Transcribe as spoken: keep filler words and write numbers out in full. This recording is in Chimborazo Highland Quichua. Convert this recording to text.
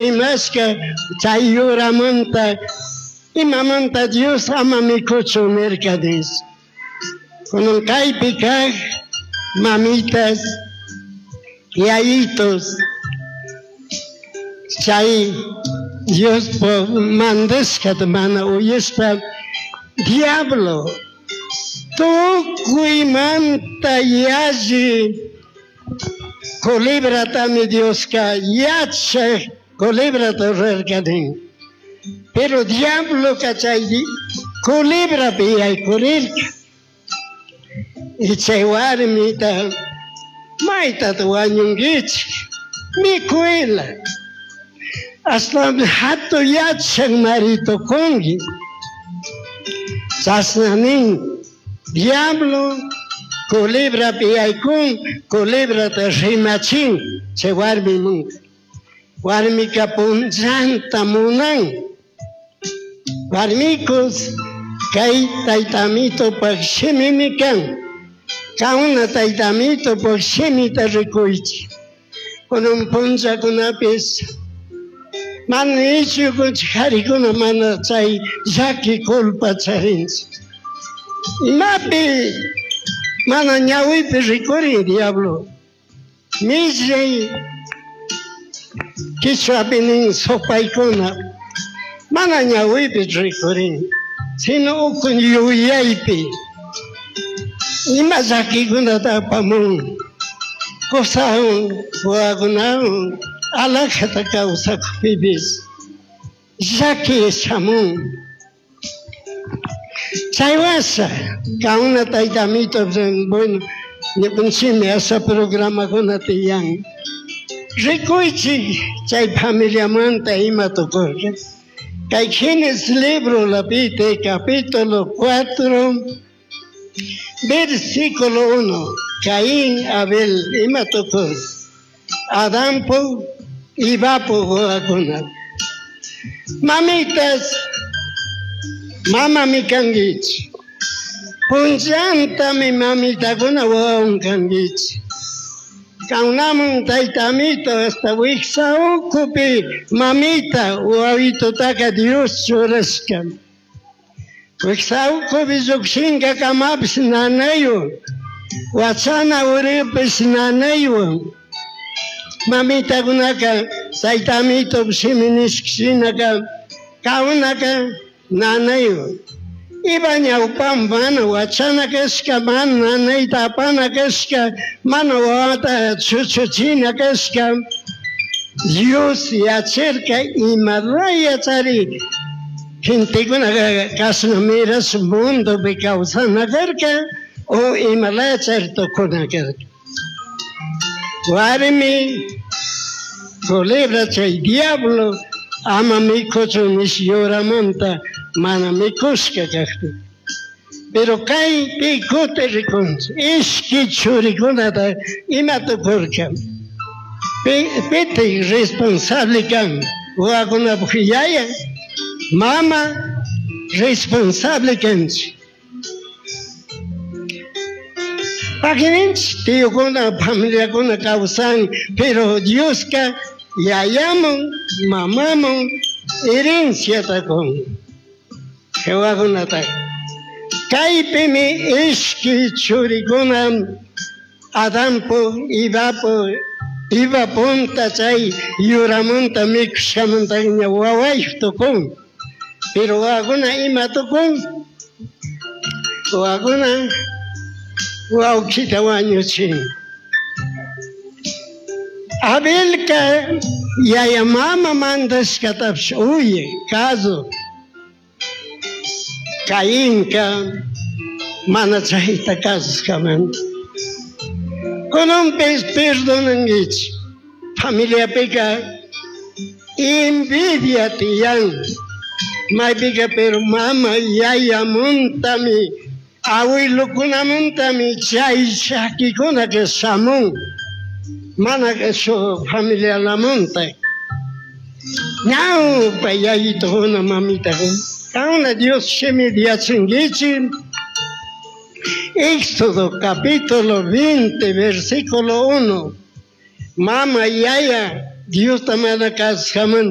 Rimashka chay yuramanta imamanta Dios ama mikuchun nirka nish. Kunan kaypi kaq mamitas, yayitos, chay Diospuk mandashkata mana uyashpa diablo tukuymanta yalli culebratami Dioska yachak culebrata rurarka nin. Pero diabloka chay culebrapi yaykurirka. Y chay warmita maytata wañunkichik mikuyla. Ashtawan hatun yachak mari tukunki. Chashna nin diablo culebrapi yaykun, culebrata rimachin chay warmimunka. Warmika punllanta munan. Warmikus kay taytamitupak shimimi kan. Kauna taytamitupak shimita rikuychik. Kunan punllakunapis mana ichukunchik karikuna mana chay llaki culpa charinchik. Imapi mana ñawipi rikurin diablo. Millay kichwapi nin supaykuna mana ñawipi rikurin, sino ukun yuyaypi. Ima llakikunata apamun, kusawan, wawakunawan alajata kawsakupipis llaki shamun. Chay washa kauna taytamito, bueno, ñukanchikmi asha programakuna tiyan. Rikuychik chay familiamanta ima tukurka. Kay Génesis libro lapite capítulo cuatro, versículo uno. Caín, Abel, ima tukurka. Adampu, Evapu wawakuna. Mamitas, mamami kankichik. Punllantami mamitakuna wawan kankichik. Kaunamun taytamito hasta wiksa ukupi mamita wawitutaka Dios churashka. Wiksa ukupi llukshinka kamapish nanaywan, wachana uripish nanaywan. Mamitakunaka taytamito shimi nishka shinaka kaunaka nanaywan. Iba ñawpan mana wachana kashka, mana nanayta apana kashka, mana wawata chuchuchina kashka. Dios yacharka imalaya chari gentekuna kashna miras mundopi kawsana karka o imalaya chari tukuna karka. Warmi culebra chay diablo ama mikuchun nish yuramanta mana mikushka kakpi. Pero kaypi kuti rikunchik ishki churikunata ima tukurka. Pitik responsable kan wawakunapuk yaya, mama responsable kanchik. Pakininchik tiyukuna, familiakuna kawsan, pero Dioska yayamun, mamamun herenciata kun. Wawakunata. Kaypimi ishki churikuna Adampu, Evapu, Eva punta chay yuramanta mikushkamanta ña wawayuk tukun. Pero wawakuna ima tukun? Wawakuna wawkita wañuchin. Abelka yaya mama mandashkatapish uye kazu. Cainka mana chayta kasushkamanta. Kunanpis perdonankichik. Familiapika envidia tiyan. Maypika pero mama yayamuntami, awilukunamuntami chay llakikunaka shamun. Mana shu familialamunta. Ñawpa yayitukuna mamitakuna. Kauna Dios shimi yachankichik. Éxodo capítulo veinte, versículo uno. Mama yaya Diosta mana kasushkamanta.